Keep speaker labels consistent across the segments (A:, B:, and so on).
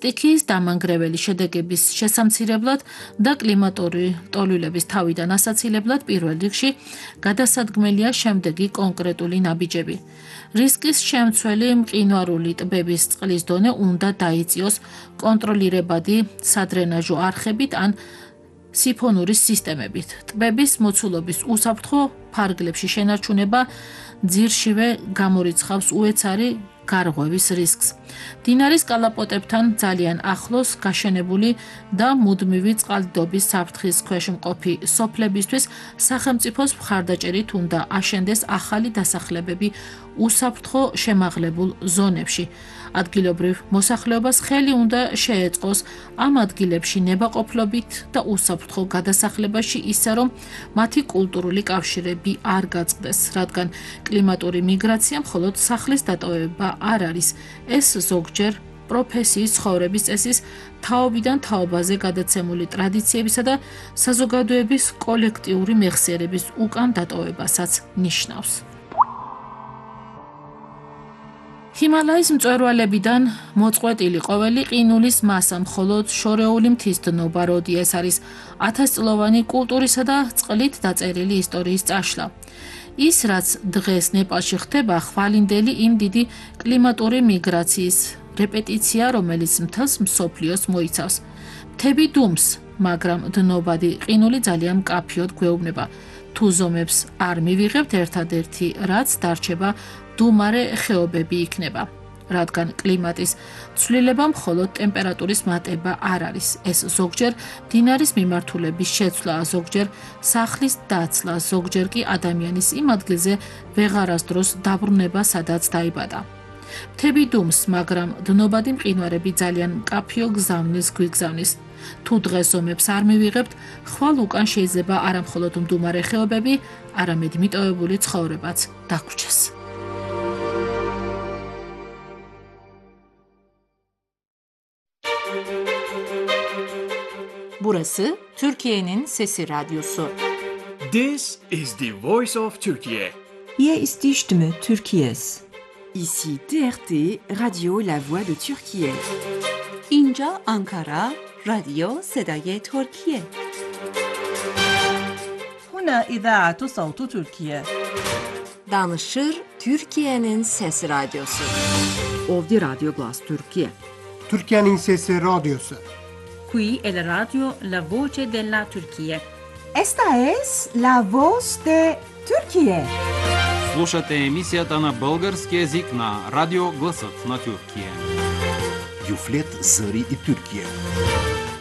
A: სტიქიის დამანგრეველი შედეგების შესამცირებლად და კლიმატური ტოლვილების თავიდან ასაცილებლად პირველ რიგში გადასადგმელია შემდეგი კონკრეტული ნაბიჯები. რისკის შემცველი მყინვარული ტბების წყლის დონე უნდა დაიწიოს კონტროლირებადი სადრენაჟო არხებით ან სიფონურის სისტემებით. ტბების მოცულობის უსაფრთხო ფარგლებში შენარჩუნება ძირშივე გამორიცხავს უეცარი გარღვევის რისკს. მდინარის კალაპოტებთან ძალიან ახლოს გაშენებული და მუდმივი წყალდიდობის საფრთხის ქვეშ მყოფი სოფლებისთვის სახელმწიფოს მხარდაჭერით უნდა აშენდეს ახალი დასახლებები უსაფრთხო შემაღლებულ ზონებში. ადგილობრივ მოსახლეობას ხელი უნდა შეეწყოს ამ ადგილებში ნებაყოფლობით და უსაფრთხო გადასახლებაში ისე, რომ მათი კულტურული კავშირები არ გაწყდეს, რადგან კლიმატური მიგრაცია მხოლოდ სახლის დატოვება არ არის. ეს ზოგჯერ პროფესიის ცხოვრების წესის თაობიდან თაობაზე გადაცემული ტრადიციებისა და საზოგადოების კოლექტიური მეხსიერების უკან დატოვებასაც ნიშნავს. ჰიმალაის მწვერვალებიდან მოწყვეტილი ყოველი ყინულის მასა მხოლოდ შორეული მთის დნობა, როდი ეს არის 1000-წლოვანი კულტურისა და წყლით დაწერილი ისტორიის წაშლა. ის, რაც დღეს ნეპალში ხდება, ხვალინდელი იმ დიდი კლიმატური მიგრაციის რეპეტიცია, რომელიც მთელს მსოფლიოს მოიცავს. მთები დუმს, მაგრამ დნობადი ყინული ძალიან მკაფიოდ გვეუბნება. თუ ზომებს არ მივიღებთ, ერთადერთი რაც დარჩება დუმარე ხეობები იქნება. რადგან კლიმატის ცვლილება მხოლოდ ტემპერატურის მატება არ არის. ეს ზოგჯერ მდინარის მიმართულების შეცვლა, ზოგჯერ სახლის დაცლა, ზოგჯერ კი ადამიანის იმ ადგილზე ვეღარასდროს დაბრუნება, სადაც დაიბადა. მთები დუმს, მაგრამ დნობადი მყინვარები ძალიან მკაფიო გზავნის გვიგზავნის. თუ დღეს ზომებს არ მივიღებთ, ხვალ უკან შეიძლება არა მხოლოდ მდუმარე ხეობები, არამედ მიტოვებული ცხოვრებაც დაგვრჩეს.
B: Burası Türkiye'nin Sesi Radyosu.
C: This is the voice of Turkey.
D: Hier ist die Stimme Türkiye's.
E: Ici TRT Radio La Voix de Türkiye.
F: اینجا آنکارا رادیو صدای ترکیه.
G: هنا إذاعة صوت تركيا.
B: Danışır Türkiye'nin Sesi Radyosu.
E: Ovdje Radio Glas Türkiye.
H: Türkiye'nin Sesi Radyosu.
I: Qui è la radio La Voce della Turchia.
D: Esta es la voz de Turquía.
J: Слушате емисията на български език на Радио Гласът на Тюркия.
K: Юфлет Зари и Тюркия.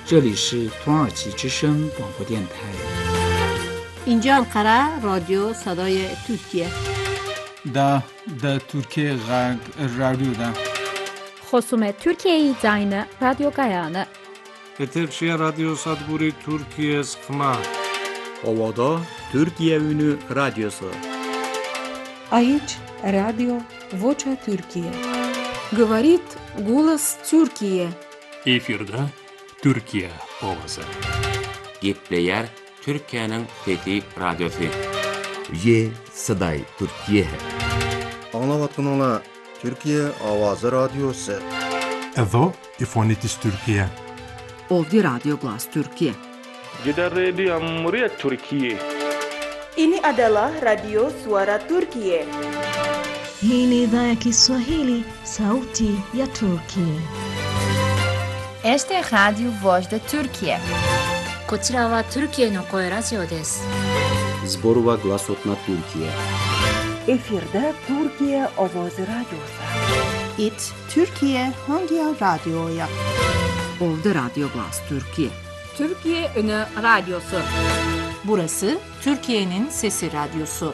L: 这里是土耳其之声广播电台。
M: اینجا انقره رادیو صدای ترکیه.
N: دا Türkiye radyoda.
O: خصوم ترکیه زاین رادیو گایانه.
P: ეთერშია რადიო სადგური თურქიეს ხმა.
Q: Ovada Türkiye Ünü Radyosu.
R: Aici Radio Vocea Türkiye.
S: Говорит голос Türkiye.
T: Efirde Türkiye ovası.
H: Gepleyer Türkiye'nin Fethi Radyosu.
K: Ye Saday Türkiye.
E: Anlavatınla Türkiye Avazı Radyosu.
B: Εδώ η φωνή της Τουρκία.
E: Ovdje Radio Glas Türkiye.
P: Giderredi Amriyet Türkiye.
F: Ini adalah Radio Suara Turkiye.
D: Hii ni idhaa ya Kiswahili, sauti ya Turkiye.
C: Este é Radio Voz da Turquia.
I: こちらはトルキエの声ラジオです。
Q: Zborova Glasotna Türkiye.
F: Efirde Türkiye Avazı Radyosu.
D: It Türkiye Hangi Radyo'ya.
E: Ovdje Radio Glas Türkiye.
B: Türkiye Ünü Radyosu. Burası Türkiye'nin Sesi Radyosu.